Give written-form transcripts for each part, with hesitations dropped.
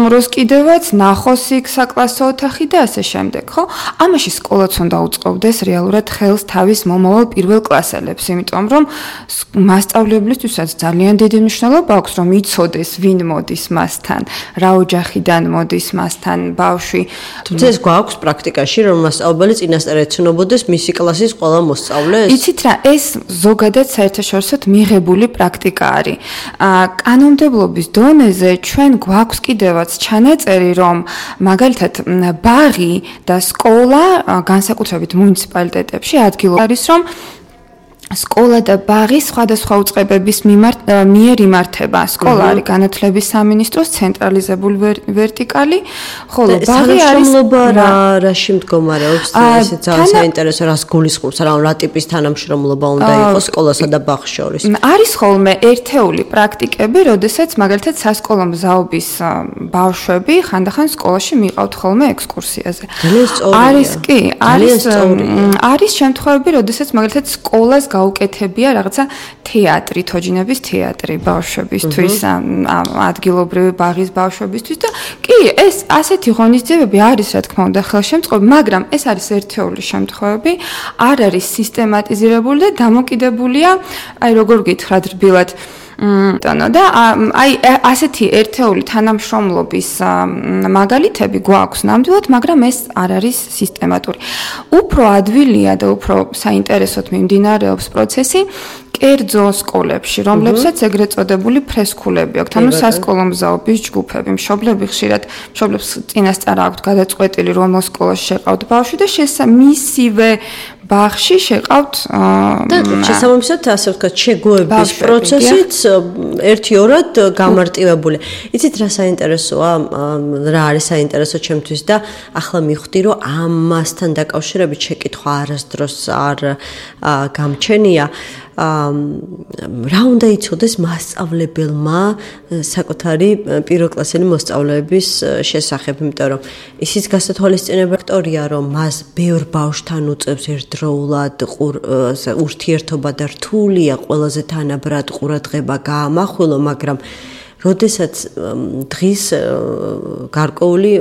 სტუმროს კიდევაც, ნახოს იქ საკლასო ოთახი და ასე შემდეგ, ხო? ამაში სკოლაც უნდა უწყობდეს რეალურად ხელს თავის მომავალ პირველ კლასელებს, იმიტომ რომ მასწავლებლისთვისაც ძალიან დიდი მნიშვნელობა აქვს, რომ იცოდეს ვინ მოდის მასთან, რა ოჯახიდან მოდის მასთან ბავშვი. თუმცა ეს გვაქვს პრაქტიკაში, რომ მასწავლებელი წინასწარ ეცნობოდეს მისი კლასის ყველა მოსწავლეს? იცით რა, ეს ზოგადად საერთაშორისოდ მიღებული პრაქტიკა არის. კანონმდებლობის დონეზე ჩვენ გვაქვს კიდევაც ჩანაწერი, რომ მაგალითად ბაღი და სკოლა განსაკუთრებით მუნიციპალიტეტებში ადგილობრივ არის, რომ სკოლა და ბაღი სხვადასხვა უწყებების მიერ იმართება. სკოლა არის განათლების სამინისტროს ცენტრალიზებული ვერტიკალი, ხოლო ბაღი არის რაში მდგომარეობს? ესეც ძალიან საინტერესო, რას გულისხმობს, რა ტიპის თანამშრომლობა უნდა იყოს სკოლასა და ბაღს შორის? არის ხოლმე ერთეული პრაქტიკები, როდესაც მაგალითად სასკოლო მზაობის ბავშვები ხანდახან სკოლაში მიყავთ ხოლმე ექსკურსიაზე. არის კი, არის შემთხვევები, როდესაც მაგალითად სკოლას გაუკეთებია რაღაცა თეატრი, თოჯინების თეატრი ბავშვებისთვის, ადგილობრივი ბაღის ბავშვებისთვის და კი, ეს ასეთი ღონისძიებები არის, რა თქმა უნდა, ხელშემწყობი, მაგრამ ეს არის ერთეული შემთხვევები, არ არის სისტემატიზირებული და დამოკიდებულია, აი როგორ გითხრათ რბილად, და აი ასეთი ერთეული თანამშრომლობის მაგალითები გვაქვს ნამდვილად, მაგრამ ეს არ არის სისტემატური. უფრო ადვილია და უფრო საინტერესოდ მიმდინარეობს პროცესი კერძო სკოლებში, რომლებსაც ეგრეთ წოდებული ფრესკულები აქვთ, ანუ სასკოლო მზაობის ჯგუფები. მშობლებს წინასწარ აქვთ გადაწყვეტილი, რომელ სკოლაში შეყავთ ბავშვი და მისივე ბაღში შეყავთ და შესაბამისად, ასე ვთქვათ, შეგუების პროცესიც ერთი-ორად გამარტივებული. იცით რა საინტერესოა, რა არის საინტერესო ჩემთვის და ახლა მივხვდი, რომ ამასთან დაკავშირებით შეკითხვა არასდროს არ გამჩენია. რა უნდა იცოდეს მასწავლებელმა საკუთარი პირველკლასელი მოსწავლეების შესახებ, იმიტომ რომ ისიც გასათვალისწინებელი ფაქტორია, რომ მას ბევრ ბავშვთან უწევს ერთდროულად ურთიერთობა და რთულია ყველაზე თანაბრად ყურადღება გაამახვილო, მაგრამ როდესაც დღის გარკვეული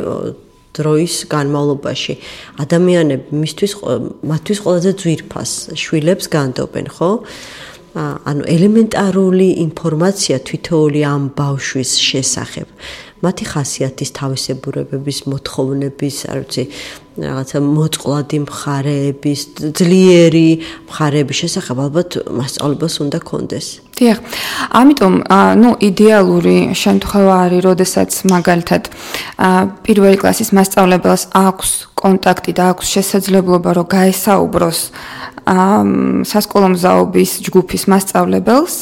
დროის განმავლობაში ადამიანები მათთვის ყველაზე ძვირფას შვილებს განდობენ, ხო? ანუ ელემენტარული ინფორმაცია თვითეული ამ ბავშვის შესახებ, მათი ხასიათის თავისებურებების, მოთხოვნების, არ ვიცი, რაღაცა მოწყვლადი მხარეების, ძლიერი მხარეების შესახებ ალბათ მასწავლებელს უნდა კონდეს. დიახ. ამიტომ, იდეალური შემთხვევა არის, როდესაც მაგალითად პირველი კლასის მასწავლებელს აქვს კონტაქტი და აქვს შესაძლებლობა, რომ გაესაუბროს სასკოლო მზაობის ჯგუფის მასწავლებელს,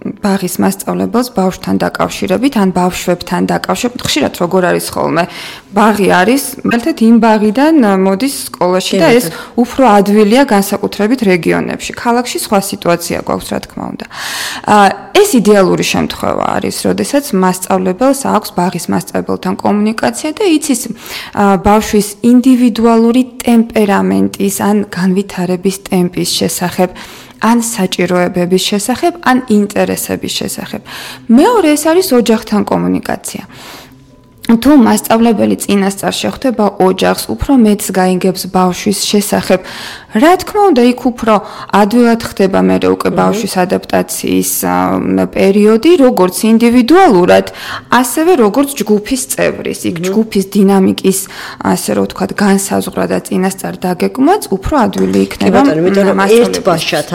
ბაღის მასწავლებელს ბავშვთან დაკავშირებით, ან ბავშვებთან დაკავშირებით. ხშირად როგორ არის ხოლმე, ბაღი არის, მაგალითად იმ ბაღიდან მოდის სკოლაში და ეს უფრო ადვილია განსაკუთრებით რეგიონებში. ქალაქში სხვა სიტუაცია გვაქვს, რა თქმა უნდა. ეს იდეალური შემთხვევა არის, როდესაც მასწავლებელს აქვს ბაღის მასწავლებელთან კომუნიკაცია და იცის ბავშვის ინდივიდუალური ტემპერამენტის ან განვითარების ტემპის შესახებ, ან საჭიროებების შესახებ, ან ინტერესების შესახებ. მეორე ეს არის ოჯახთან კომუნიკაცია. თუ მასწავლებელი წინასწარ შეხვდება ოჯახს, უფრო მეტს გაიგებს ბავშვის შესახებ. რა თქმა უნდა, იქ უფრო ადვილად ხდება მერე უკვე ბავშვის ადაპტაციის პერიოდი, როგორც ინდივიდუალურად, ასევე როგორც ჯგუფის წევრის. იქ ჯგუფის დინამიკის, ასე რომ ვთქვათ, განსაზღვრა და წინასწარ დაგეგმვაც უფრო ადვილი იქნება. იმიტომ რომ ერთ ბავშვად,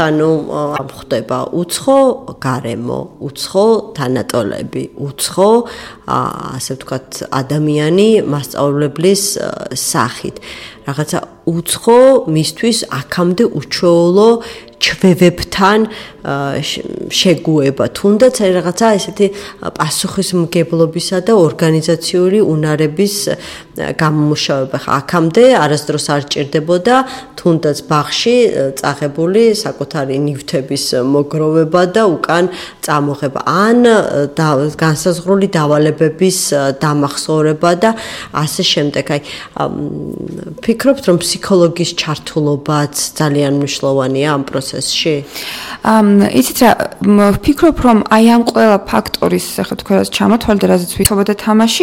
ხდება უცხო გარემო, უცხო თანატოლები, უცხო, ასე ვთქვათ, ადამიანი მასწავლებლის სახით. რაღაცა უცხო მისთვის აქამდე უჩვეულო ჩვევებთან შეგუება, თუნდაც რაღაცა ესეთი პასუხისმგებლობისა და ორგანიზაციული უნარების გამომუშავება. აქამდე არასდროს არ ჭირდებოდა თუნდაც ბაღში წაღებული საკუთარი ნივთების მოგროვება და უკან წამოღება, ან განსაზღვრული დავალებების დამახსოვრება და ასე შემდეგ. აი, ფიქრობთ, რომ ფსიქოლოგის ჩართულობაც ძალიან მნიშვნელოვანია ამ პროცესში? იცით რა, ვფიქრობ, რომ აი ამ ყველა ფაქტორის, ახლა თქვენაც ჩამოთვალეთ, რაზეც ვითხოვდა თამაში,